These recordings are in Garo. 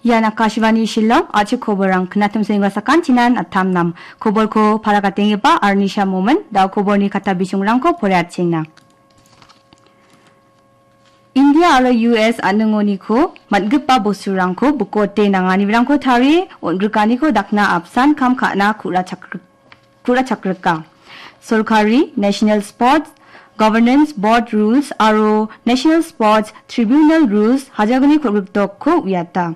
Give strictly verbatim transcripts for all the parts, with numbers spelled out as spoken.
Ian Akashvani Shillong, a·chik koborrang knatim sengga sakantinan attam nam. Koborko paragatengipa Arnisha Momin, da·o koborni kata bisongrangko poreatchengna. India aro U S a·ningoniko man·gipa bosturangko bikote nanganirangko tarie on·grikaniko dakna apsan kam ka·na ku·ra chakri-, ku·ra chakrika. Sorkari National Sports Governance Board Rules aro National Sports Tribunal Rules hajalgni kolgrikdokko uiata.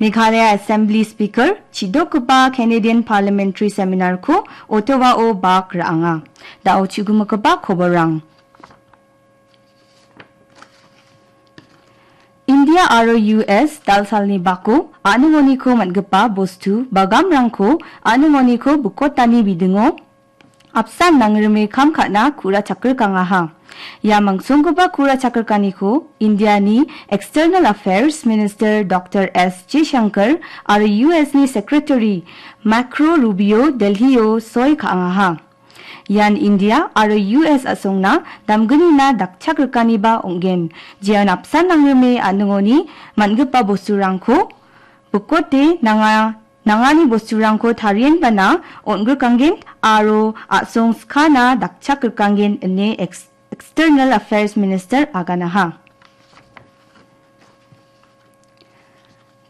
Meghalaya Assembly Speaker chidokgipa Canadian Parliamentary Seminar-ko Ottawa-o bak ra·anga. Da·o chu·gimigipa koborrang. India aro U S dalsalni bako a·ningoniko man·gipa bostu bagamrangko a·ningoniko bikotani bidingo apsan nangrime kam ka·na ku·ra chakrikangaha. Ia mangsonggipa ku·ra chakrikaniko Indiani External Affairs Minister Doctor S Jaishankar aro U S-ni Secretary Marco Rubio Delhi-o soi ka·angaha. Ian India aro U S a·songna damgnina dakchakrikaniba ong·gen, jeon apsan nangrime a·ningoni man·gipa bosturangko bikote nanga-, nangani bosturangko tarienbana on·grikanggen aro a·song skana dakchakrikanggen ine ex-, External Affairs Minister aganaha.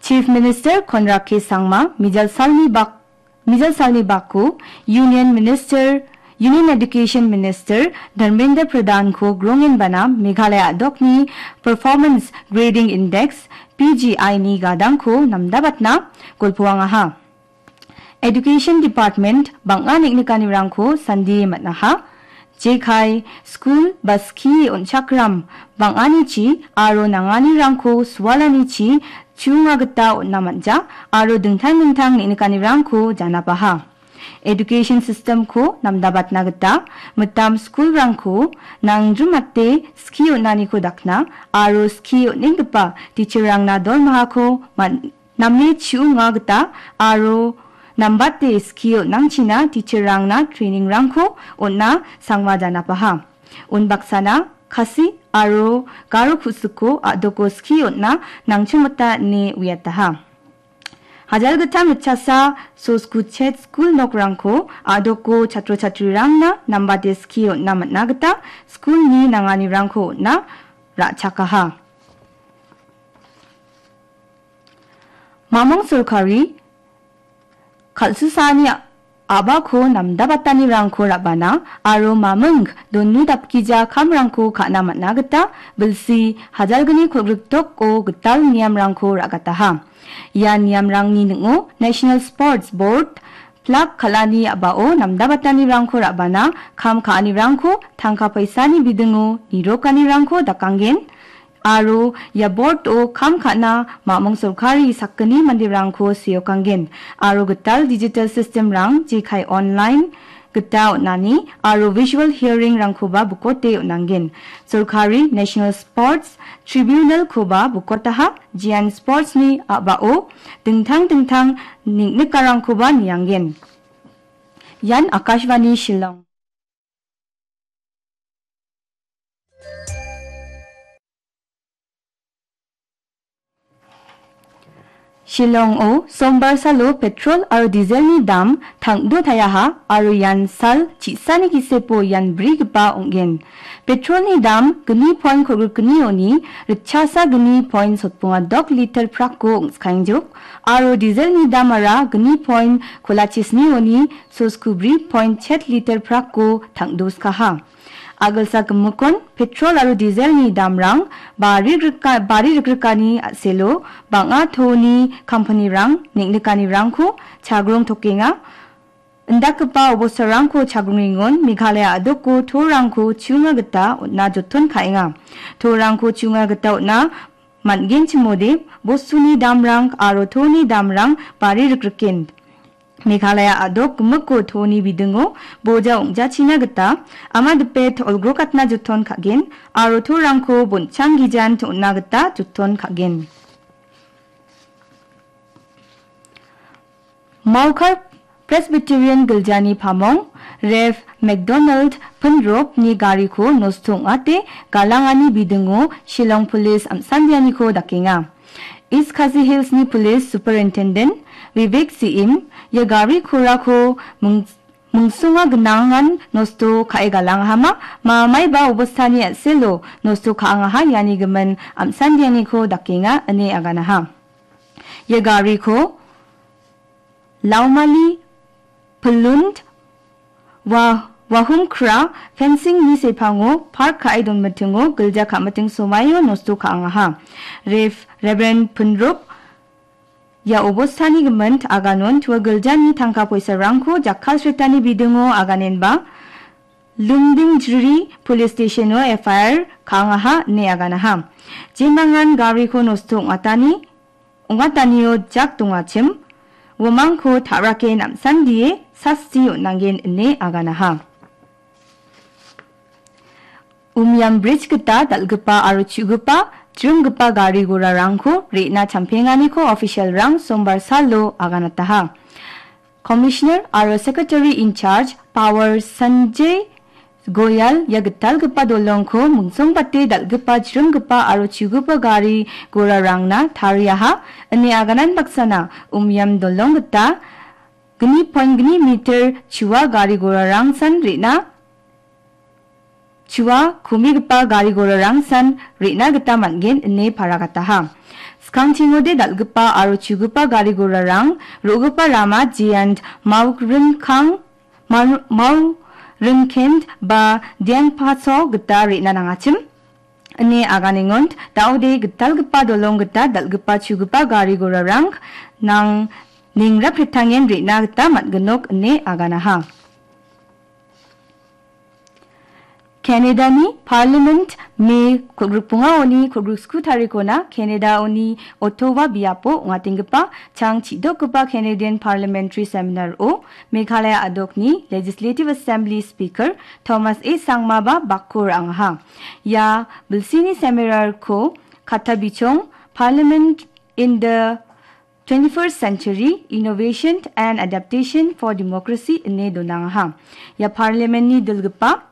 Chief Minister Conrad K Sangma mijal salni bak-, mijal salni bako Union Minister, Union Education Minister Dharmendra Pradhan-ko grongenbana Meghalaya a·dokni Performance Grading Index, P G I-ni gadangko namdabatna golpoangaha. Education Department bang·a neng·nikanirangko sandie man·aha. Jekai skul ba skie on·chakram bang·anichi aro nanganirangko sualanichi chu·onga gita on·na man·ja aro dingtang dingtang neng·nikanirangko janapaha. Education system-ko namdabatna gita mitam skulrangko nangjrimate skie on·aniko dakna aro skie on·enggipa teacher-rangna dormahako man-, name chu·onga gita aro nambate skie on·angchina teacher-rangna training-rangko on·na sangma janapaha. Unbaksana Khasi aro Garo ku·siko a·doko skie on·na nangchongmota ine uiataha. Hajalgittam mitchasa Sosku Chet skul nokrangko a·doko chatro chatrirangna nambate skie on·na man·a gita skulni nanganirangko on·na ra·chakaha. Mamung sorkari kal·susaani a-, a·bako namdabatanirangko ra·bana aro mamung doni dapgija kamrangko ka·na man·a gita bilsi hajalgni kolgriktoko gital niamrangko ra·gataha. Ia niamrangni ning·o National Sports Board, plak kal·ani a·bao namdabatanirangko ra·bana, kam ka·anirangko tangka paisani bidingo nirokanirangko dakanggen, aro ia board-o kam ka·na mamung sorkari sakgni manderangko seokanggen, aro gital digital system-rang jekai online gita on·ani aro visual hearing-rangkoba bukote on·angen. Sorkari National Sports Tribunal-koba bukotaha, jean sports-ni a·bao dingtang dingtang neng·nikarangkoba niangen. Ian Akashvani Shillong. Shillong-o Sombar salo petrol aro dieselni dam tangdo tayaha aro ian sal chi·sani gisepo ian brigipa ong·gen. Petrolni dam gni point kolgrikgnioni ritchasa gni point sotbonga dok liter prakko ong·skaengjok aro dieselni damara gni point kolachisnioni sosku bri point chet liter prakko tangdoskaha. A·gilsa gimikon petrol aro dieselni damrang bari rika-, bari rikrikani a·selo bang·a toni kampanirang neng·nikanirangko chagrong tokenga. Indakgipa obostarangko chagrongengon Meghalaya a·doko torangko chu·onga gita on·na joton ka·enga. Torangko chu·onga gita on·na man·genchimode bostuni damrang aro toni damrang bari rikriken. Meghalaya a·dok gimikko toni bidingo boja ong·jachina gita ama dipe to-, olgrokatna joton ka·gen aro torangko bonchang gijan to·na gita joton ka·gen. Mawkar Presbyterian Giljani pamong Rev. McDonald Pinropni gariko nosto ong·ate galangani bidingo Shillong Police am·sandianiko dakenga. East Khasi Hillsni Police Superintendent Vivek Singh ia gari gorako ming-, mingsonga gnangan nosto ka·e galangahama, mamaiba obostani a·selo nosto ka·angaha, iani gimin am·sandianiko dakenga ine aganaha. Ia gariko Laumali Pilund Wa-, Wahumkra fencing-ni sepango park ka·e donmitingo gilja ka·miting somaio nosto ka·angaha. Rev-, Reverend Punrup ia obostani gimin aganon tua giljani tangka poisarangko jakkalsritani bidingo aganenba Lumdingjiri Police Station-o F I R ka·angaha ine aganaha. Jemangan gariko nosto ong·atani, ong·atanio jak dongachim, uamangko ta·rake namsandie sasti on·angen ine aganaha. Umiam Bridge gita dal·gipa aro chu·gipa, jringgipa gari gorarangko re·na champenganiko official-rang Sombar salo aganataha. Commissioner aro Secretary in Charge Power Sanjay Goyal ia gitalgipa dolongko mingsongbate dal·gipa, jringgipa aro chu·gipa gari gorarangna tariaha ine aganan baksana Umiam dolong gita gni point gni meter chua gari gorarangsan re·na chua komigipa gari gorarangsan re·na gita man·gen ine paragataha. Skangchingode dal·gipa aro chu·gipa gari gorarang ro·gipa rama Jiyant Mauringkang, Mau-, Mauringkent ba Diangpaso gita re·na nangachim ine aganengon, daode gitalgipa dolong gita dal·gipa chu·gipa gari gorarang nang ningraprittangen re·na gita man·ginok ine aganaha. Canada-ni Parliament Me kolgrikbongaoni kolgriksku tarikona Canada-oni Ottawa biapo ong·atenggipa chang chi·dokgipa Canadian Parliamentary Seminar-o Meghalaya a·dokni Legislative Assembly Speaker Thomas A Sangmaba bako ra·angaha. Ia bilsini seminar-ko katta bichong Parliament in the twenty-first Century, Innovation and Adaptation for Democracy ine donangaha. Ia Parliament-ni dilgipa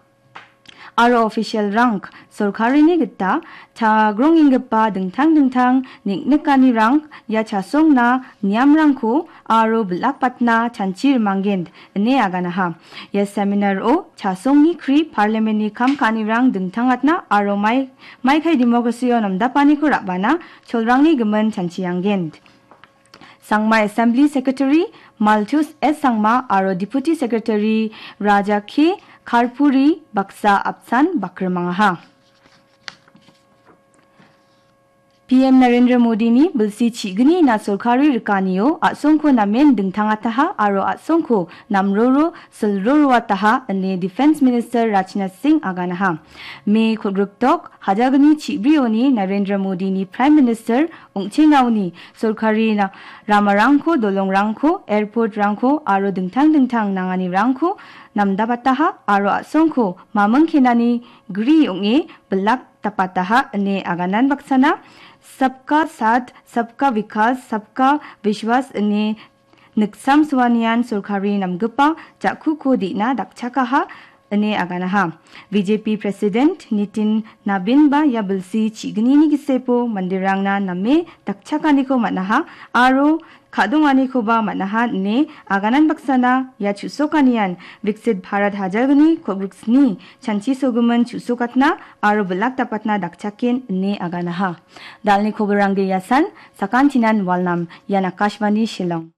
aro official-rang sorkarini gita chagrongenggipa dingtang dingtang neng·nikanirang ia chasongna niamrangko aro bilakbatna chanchi rimanggen ine aganaha. Ia seminar-o chasongni kri Parliament-ni kam ka·anirang dingtangatna aro mai-, maikai democracy-o namdapaniko ra·bana cholrangni gimin chanchianggen. Sangma Assembly Secretary Malthus S Sangma aro Deputy Secretary Raja K Karpuri baksa apsan bakrimangaha. P M Narendra Modini bilsi chi·gnina sorkari rikanio a·songko namen dingtangataha aro a·songko namroro silroroataha ine Defence Minister Rajnath Singh aganaha. Me kolgrikdok hajalgni chi·brioni Narendra Modini Prime Minister ong·chengaoni sorkari na-, ramarangko, dolongrangko, airport-rangko aro dingtang dingtang nanganirangko namdapataha aro a·songko mamingkenani gri ong·e bilak dapataha ine aganan baksana Sabka Saath, Sabka Vikas, Sabka Vishwas ine niksamsoanian sorkari namgipa ja·kuko de·na dakchakaha ine aganaha. B J P President Nitin Nabin-ba ia bilsi chi·gnini gisepo manderangna name dakchakaniko man·aha aro ka·donganikoba man·aha ine aganan baksana ia chu·sokanian Viksit Bharat hajalgni kolgriksni chanchisogimin chu·sokatna aro bilak dapatna dakchaken ine aganaha. Dalni koborangde iasan, sakantinan walnam, ian Akashvani Shillong.